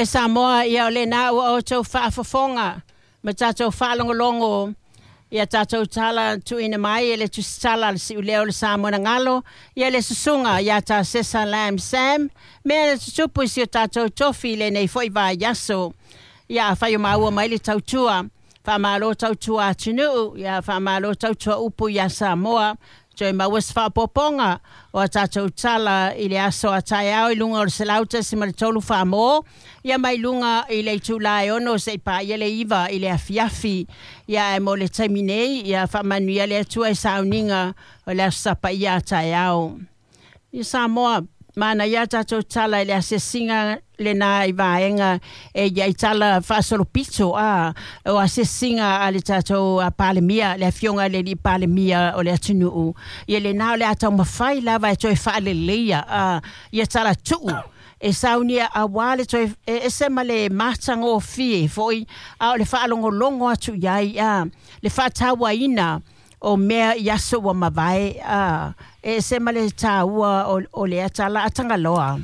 E Samoa, ia o lena ua outou faafofoga ma tatou faalogologo ia tatou tala tuuina mai e le tusitala a le siuleo o le Samoa na galo, ia le susuga ia Tasesa Lam Sam, mea na tutupu i si o tatou tofi i lenei foi vaiaso. Ia afai o maua mai le tautua, faamalo tautua atunuu, ia faamalo tautua upu ia Samoa, toe maua se faaopoopoga o a tatou tala i le aso a taeao i luga o le 100.3 Faamo, ia mai luga i le itula e 6 seia paia le 9 i le afiafi. Ia ae mo le taimi nei, ia faamanuia le Atua i sauniga o le Aso Sa Paia a taeao. I Samoa, manaia a tatou tala i le asiasiga lena i vaega e i ai tala faasolopito a o asiasiga a le tatou Palemia, le afioga i le alii Palemia o le atunuu. Ia lena o le a taumafai lava e toe faaleleia a ia tala tuu e saunia aua le toe e ese ma le matagofie foi a o le faalogologo atu i ai a le faatauaina o mea i aso ua mavae a e ese ma le taua o lea tala a Tagaloa.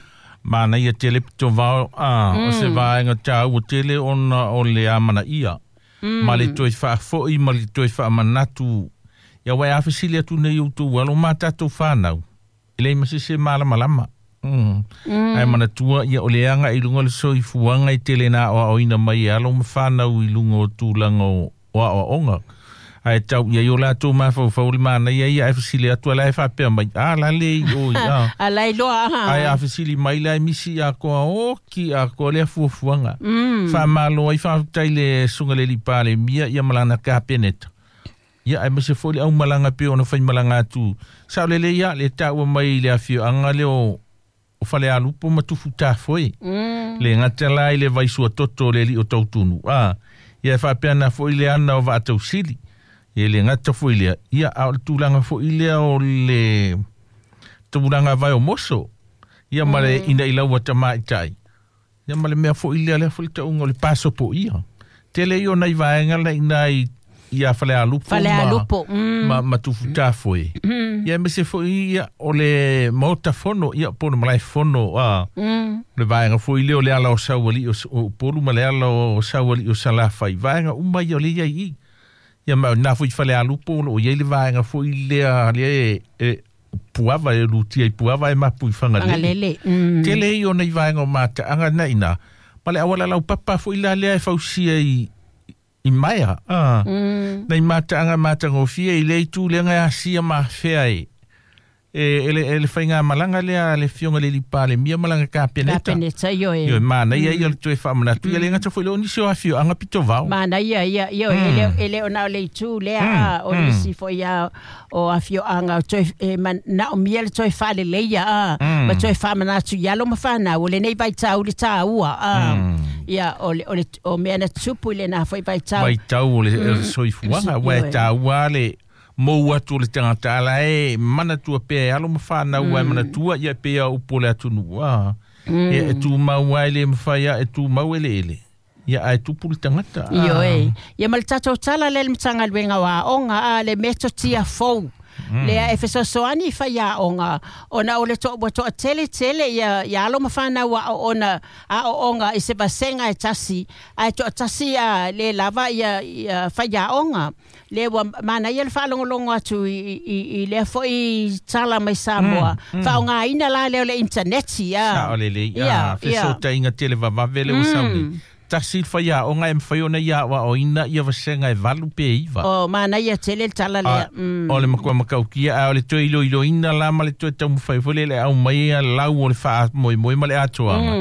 Manaia tele pito vao a o se vaega taua tele ona o le amanaia. Ma le toe faafoi ma le toe faamanatu. Ia uae a fesili atu nei outou alo ma tatou whanau. E leai ma se isi e malamalama. Ae manatua ia o le aga i luga o le soifuaga e tele na aoaoina mai e alo ma whanau i luga o tulaga o aoaoga. Ae tau i ai o latou mafaufau o le manaia ia ae fesili atu ala e faapea mai, a la le i o i a. A la iloa a. Ae a fesili mai la e misi atoa oki atoa lea fuafuaga. Faamalo ai faafetai le susuga i le alii Palemia ia ma lana Kapeneta. Ia aemaise foi le aumalaga pei ona faimalaga atu. Sao lelei ia le taua mai i le afioaga lea o o Falealupo ma Tufutafoe. Le gata la i le vai suatoto o le alii o Tautunu, a ia e faapea na foi le ana o Vaatausili. Ia le gata foi lea, ia a o le tulaga foi lea o le tulaga vai o moso. Ia ma le ina i laua tamaitai. Ia ma le mea foi lea, lea foi le tauga o le pasopoia. Tele ia o nai vaega la ina i ia Falealupo Falealupo, ma Tufutafoe. Ia aemaise foi ia o le Maota Fono, ia po o le Malae Fono, a le vaega foi lea o le ala o Saualii o Upolu ma le ala o Saualii o Salafai. Vaega uma ia o lea e i ai i i. Ia ma na foi Falealupo o lo o i ai le vaega foi lea lea e Puava e lutia i Puava e mapu i Fagalele. Fagalele. Tele ia o nei vaega o mataaga na ina, ma le auala laupapa foi la lea e fausia i Maea. Nei mataaga matagofie i lea itu lea e asia ma afea e e le faigamalaga lea a le afioga i le alii Palemia ma lana Kapeneta. Kapeneta, ioe. Ioe, manaia ia o le toe faamanatu. Ia le gata foi lea o nisi o afioaga pito vao. Manaia ia, ioe, e le o na o le itu lea, a o nisi foi a o afioaga o toe e manaomia le toe faaleleia a ma toe faamanatu i alo ma fanau o lenei vaitau le taua a ia o le o le o mea na tupu i lena foi vaitau. Vaitau o le soifuaga, aua e taua le mou atu o le tagata ala e manatua pea e alo ma fanau ae manatua ia pei a upu o le atunuu a ia e tumau lava e le mafai a e tumau eleele ia ae tupu le tagata. Ioe. Ia ma le tatou tala lea i le Matagaluega o Aoga a le metotia fou lea e fesoasoani i faiaoga ona o le to, ua toatele tele ia, ia alo ma fanau aoona, aoaoga i se vasega e tasi, ae toatasi a le lava ia, ia faiaoga. Lea ua manaia le faalogologo atu i lea foi tala mai Samoa. Faaaogaina la lea o le initaneti. Sao lelei. Ia, fesootaiga televavave lea ua sau nei. Tasi le faiaoga e mafai ona ia aoaoina ia vasega e 8 pe 9. O, manaia tele le tala lea. O le matua matautia, a o le toe iloiloina la ma le toe taumafai foi lea i le aumai lau o le faamoemoe ma le atoaga.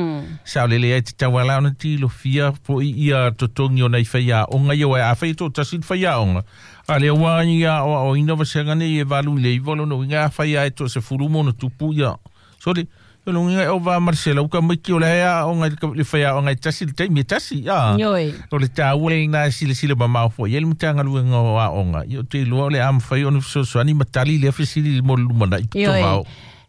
Sao lelei ai tatau lava la ona tilofia foi ia totogi o nai faiaoga ia, aua afai e toatasi le faiaoga, a lea ua ia aoaoina vasega nei e 8 i le 9, o lona uiga afai lava e toasefulu ma ona tupu ia, sole, o lona uiga e ova ma le 100 tamaiti o la e aoga i le faiaoga e tasi i le taimi e tasi, a. Ioe. O le taua lena e silasila mamao foi i ai le Matagaluega o Aoga, ia ou te iloa o le a mafai ona fesoasoani ma tali lea fesili mo le lumanai pito vao.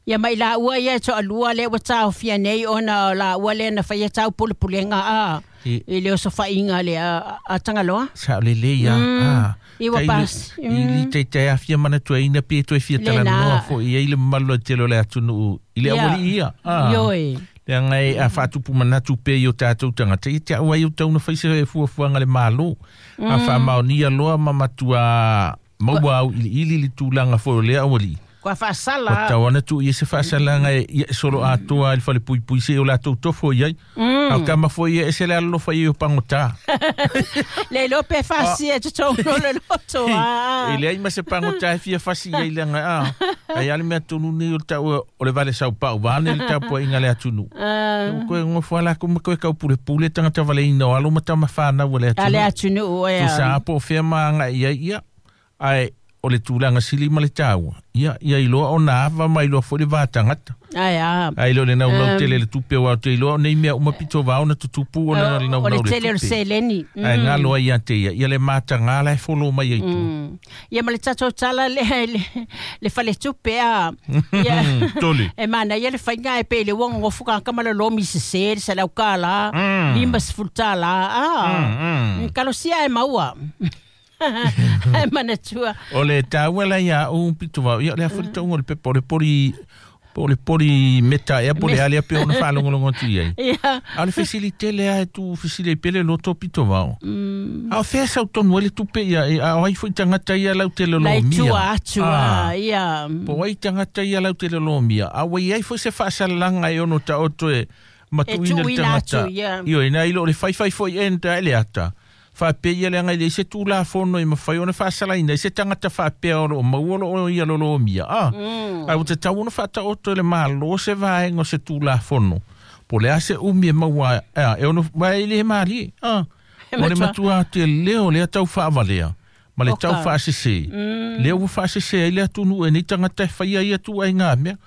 Ia ma i laua ia e toalua lea ua taofia nei ona o laua lea na faia taupulepulega a i le osofaiga lea a Tagaloa. Sao lelei a. I ua pas. I li taitai afia manatuaina pe toe fia talanoa foi i ai le mamalu lautele o le atunuu i le aualii ia. Ioe. Le ngai a faatupu manatu pe i o tātou tangata. I te au ai o tauna whaise e fuafuaga le malo. A whaamaonia loa ma matua maua au ili ili li tūlanga foi o lea awali. Kua whaasala. Kua tauana tu i se whaasalanga e solo atoa i whale pui pui se o lātou tofo i ai. Au kama foi e se le alofa i o pangota. Le lope fasi e tutongo le loto. E le ai ma se pangota e fia fasi i le nga a. Ai ale mea tonu ni o tau o le vale sau pau vane le tapu inga le atunu. Koe ngofo ala kuma koe kau pule pule tangata vale ina o alo matama whanau o le atunu. Ale atunu o ea. Tusa apo o whia maanga ia ia. Ai o le tūlanga sili ma le tāua. Ia, ia iloa o nā ava mai iloa foi le vātangata. Ai a. Ai lo le nau nau tele le tupe o au te iloa o nei mea uma pito vāo na tutupu o na nau O le nau le tele o le tupe. seleni. Ai ngā loa ia te ia. Ia le mātangā la e folo mai ai tu. Ia ma le tatou tala le fale tupe a. Ia. Tole. E mana ia le whainga e pele wongo ngofu ka kamala lomi se se se lau kala. Lima se fultala. Kalosia e maua. Ai mana tua. O le tāua ia o pito vau. Ia le afuri taunga o le pepa o le pori o le pori meta e po le alia pe ona whaalongolongo tu iai. Ia. A le facilite le a tu facile pele loto pito vau. A o fea sau tonu ele tupe ia a o ai foi tangata ia lau te lolo Lai mia. tua atua. Ia. Po ai tangata ia lau te lolo mia. A wai ai foi se whaasalanga e ono ta oto e matuina le tangata. Io ina ilo le whai whai foi enta ele ata. Whapea le ngai le se tūla whono i mawhai ona whaasalaina i se tangata whapea o mauolo o ia lolo mia. Ai o te tau ona whata oto le malo se vaengo se tūla whono. Po le ase umi e maua e ono vai le malie. O le matua te leo le tau whaavalea. Ma le tau whaasese. Leo ua whaasese ai le atunu e ni tangata e whaia ia tu ai ngā mea.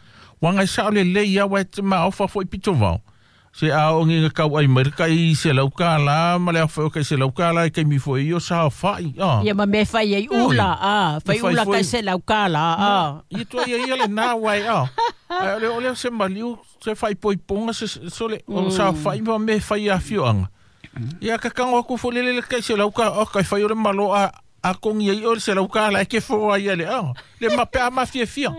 Wanga i sao le le ia wai te maofa fo i pito vao. Se a o ngi kau ai mai kai se lau ka la ma le afo kai se lau ka la kai mi fo i o sa fai a. Ia ma me fai ai ula a, fai ula kai se lau ka la a. I to ia ia le na wai a. Le o le se maliu se fai poi ponga se so le o sa fai ma me fai a fioanga. Ia ka kango ku fo le le kai se lau ka o kai fai o le malo a a kongi ai o se lau ka la ke fo ai le a. Le ma pe ma fia fia.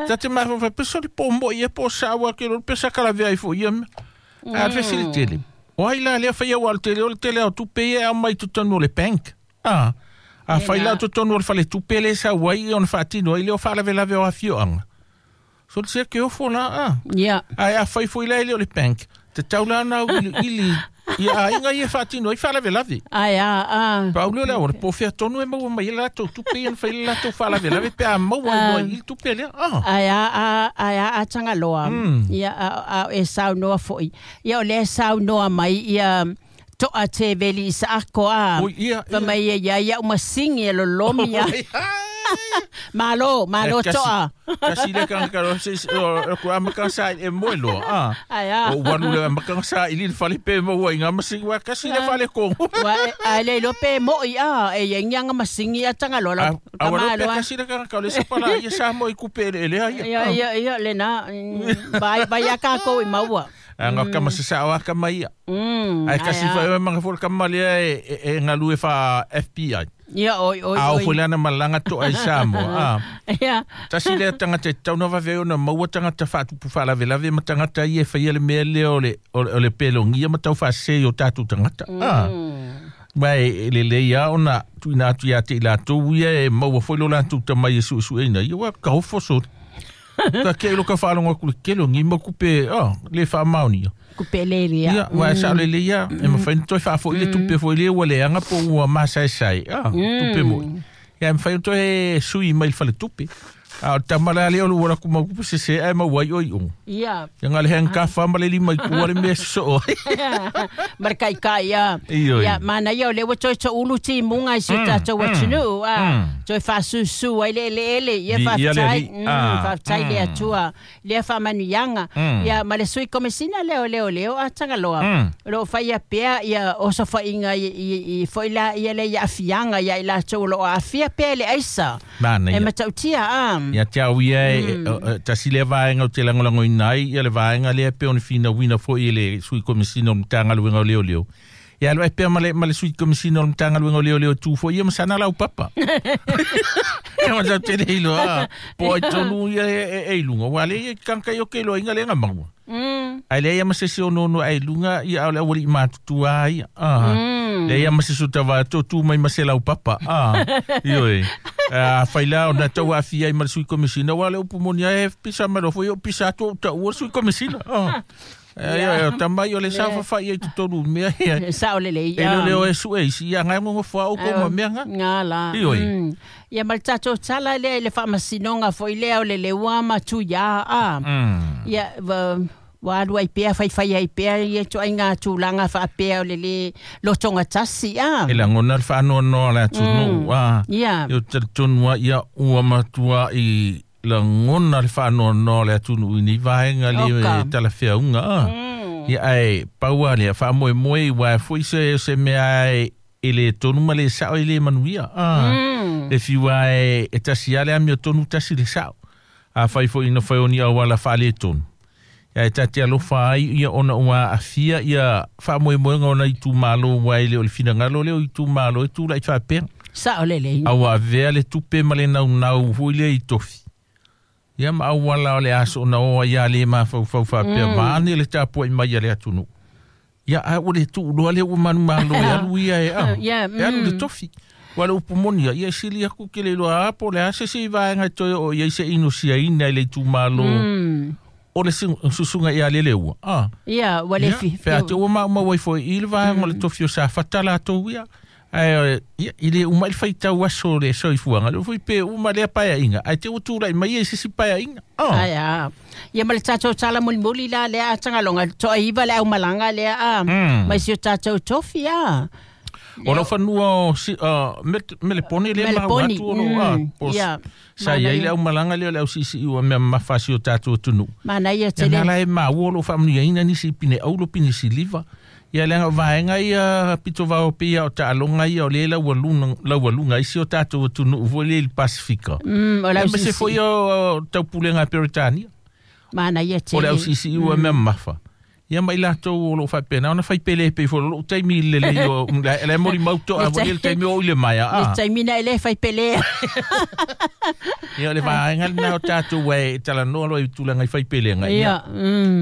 Ta te ma fa pe so le pombo ia po sa wa ke lo pe sa kala vea i fo ia. A facilite le. O ai la lea whaia o tele o le tele o tupe e au mai tutonu o le bank. A whai la tutonu o le whale tupe le sa wai o na whaatino i leo whaalawelawe o awhioanga. So le sea ke ofo la a. Ia. Ai a whai fo i la ile o le bank. Te taula na ili ia a inga ia whaatino i whaalawelawe. Ai a. Paulio lea o le pōwhea tonu e maua mai e lātou tupe i ana whai lātou whaalawelawe pe a maua i noa i tupe lea. Ai a tangaloa. Ia a e sau noa foi. Ia o le sau noa mai ia toa te veli i sa ako a. Ia. Fa mai ia ia umasingi e lolomia. Malo, malo toa. Kasi le kanga se o ku amaka sa e moelo a. Ai a. O walu le amaka sa i le fale pe mo wa inga masingi wa kasi le fale ko. Wa ai le lope mo i a e yang masingi a tanga lola. A wa lope kasi le kanga le se pala ia sa mo i kupe le le ai. Ia ia ia le na bai bai aka ko i maua. Anga kama se sa wa kama ia. Ai kasi fa manga fol kama le e ngalu e fa FBI. Ia oi oi oi. Au fulana malanga to ai Samoa. Ia. Tasi le tangata tauna vave ona maua tangata faatupu faalavelave ma tangata ia e faia le mea lea o le pelongia ma tau faasese i o tatou tagata. Ma e lelei a ona tuuina atu ia te i latou ia e maua foi lo latou tamai e suesueina ia ua kaofo sole. Ka ke lo ka faalogo aku le kelogi ma kupe le faamaonia. Kupe le ia. Ia, ua sa le ia, e mawhai toi whaafo i le tupe fo i le ua leanga po ua masaesai. Tupe moi. Ia, e mawhai toi sui mai le fale tupe. A o tamala le olu wala kuma kupe se se ai mawai oi o. Ia. Ia ngā le hang ka wha le lima i kua le mea so. Marka i ka ia. Ia, mana ia o lewa toi to ulu ti munga i si tātou atunu. Toi whaasusu ai le ele ele. Ia whaftai. Whaftai le atua. Lea whamanuianga. Ia, ma le sui komesina leo leo leo a tangaloa. Lo whaia pea ia oso whainga i whaila ia le ia afianga ia i lātou lo afia pea le aisa. Mana ia. E matautia a. Ia te au ia e tasi le vaenga o te langolango inai ia le vaenga lea pe ona fina wina foi i le sui komisina o Matagaluega o Leoleo. Ia alu ai pea ma le sui komisina o Matagaluega o Leoleo tu foi ia masana lau papa. E ma tau te le iloa. Po ai tonu ia e ilunga. Wa le ia kanka i o ke loa inga le nga maua. Ae leai ma se isi o nono ai luga ia o le auali'i matutua ia leai ma se isi o tauva tu mai ma se laupapa ioe afai la ona tau aafia ai ma le sui komesina ua le upu moni ae pisa mai loa foi o pisa atu ou taua le sui komesina Ia tamai o le saofafai ai totonu mea ia. Sao lelei. E le leo e sue isi ia ngai ngogofoa outou ma mea nga. Nga la. Ioe. Ia ma le tatou tala lea i le faamasinoga foi lea o le leua ma Tuia a. Ia ua alu ai pea faifai ai pea ia ituaiga tulaga faapea o le lē lotogatasi a. E lagona le faanoanoa o le atunuu a. Ia. E talitonu lava ia ua matuai lagona le faanoanoa o le atunuu i nei vaega le talafeauga a. Ia ae pau lava lea faamoemoe aua foi se mea e le tonu ma le sao e le manuia a. E fiu lava e tasi lava le amiotonu tasi le sao. Afai foi ina fai o ni auala faaletonu, ia e ta te alofa ai ia ona ua aafia ia faamoemoega o nai itumalo aua e le o le finagalo lea o itumalo e tulai faapea. Sao lelei. A ua avea le tupe ma le naunau foi lea i tofi. Ia ma auala o le aso na o ai a le mafaufau faapea vaeane le tapuai mai a le atunuu. Ia a ua le tuuloa lea ua manumalo e alu ia e a. E alu le tofi. Ua le upu moni ia, ia e sili aku ke le iloa a po o le a se isi vaega e toe oo i ai se inosiaina i le itumalo o le susuga ia Leleua. Ia, ua le fi. Pe a te ua maumau ai foi i le vaega o le tofi o Safata latou ia. Ae ia, e le uma i le faitau aso o le soifuaga, lea foi pe uma lea paeaiga, ae te ua tulai mai ia i se isi paeaiga. Ae a. Ia ma le tatou tala mulimuli la lea a Tagaloga, toaiva le aumalaga lea a, mai si o tatou tofi a. O lau fanua o Melepone lea maua atu o loo a, po sa i ai le aumalaga lea o le ausiisii ua mea mamafa a si o tatou atunuu. Manaia tele. Ia na la e maua o loo faamanuiaina nisi i pine auro pine siliva. Ia leaga o vaega ia pito vao pei lava o taaloga ia o lea e laualuga ai si o tatou atunuu foi lea i le Pasifika. O le Aemaise foi o taupulega a Peretania. Manaia tele. O le ausiisii ua mea mamafa. Ia ma i latou o loo faapena ona fai pele pei foi o lou taimi i le lelei o la e molimau toa foi le taimi o i le maea a. Le taimi na e le fai pele. Ia o le vaega lena o tatou e talanoa loa i tulaga i fai pelega. Ia.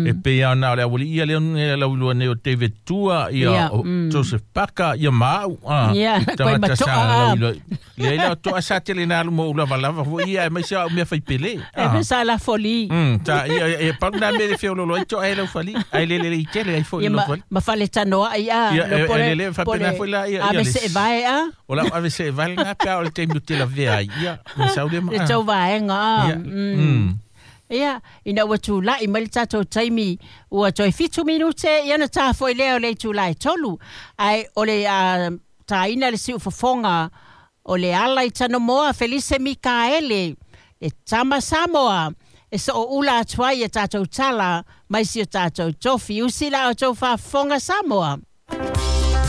E pei lava ona o le aualii ia lea lauiloa nei o David Tua, ia o Joseph Parker, ia ma au. Ia, koe Tagata sa matoa. lauiloa. Leai la o toa sa tele na alu mo ou lavalava foi ia aemaise au mea fai pele. E me sa la foli. Ta ia e pau na mea le feololo ai toa e lau fali. Ai le le le tele ai foi Ia lau ma, fali. ma fale tanoa ai a. Ia, Lo e pole- le le faapena pole- foi la ia A ia me le se vae a. O lau ave se vale na pe o le taimi o te lavea ai. Ia, me sau le ma. Le tau vaega a. Ia. Ia, ina ua tulai mai le tatou taimi, ua toe 7 minute, ia ona ta foi lea o le itula e 3. Ae o le taina le siufofoga o le ala i Tanomoa, Felise Mikaele, le tama Samoa, e sooula atu ai e tatou tala mai si o tatou tofi. Usi la o tou faafofoga Samoa.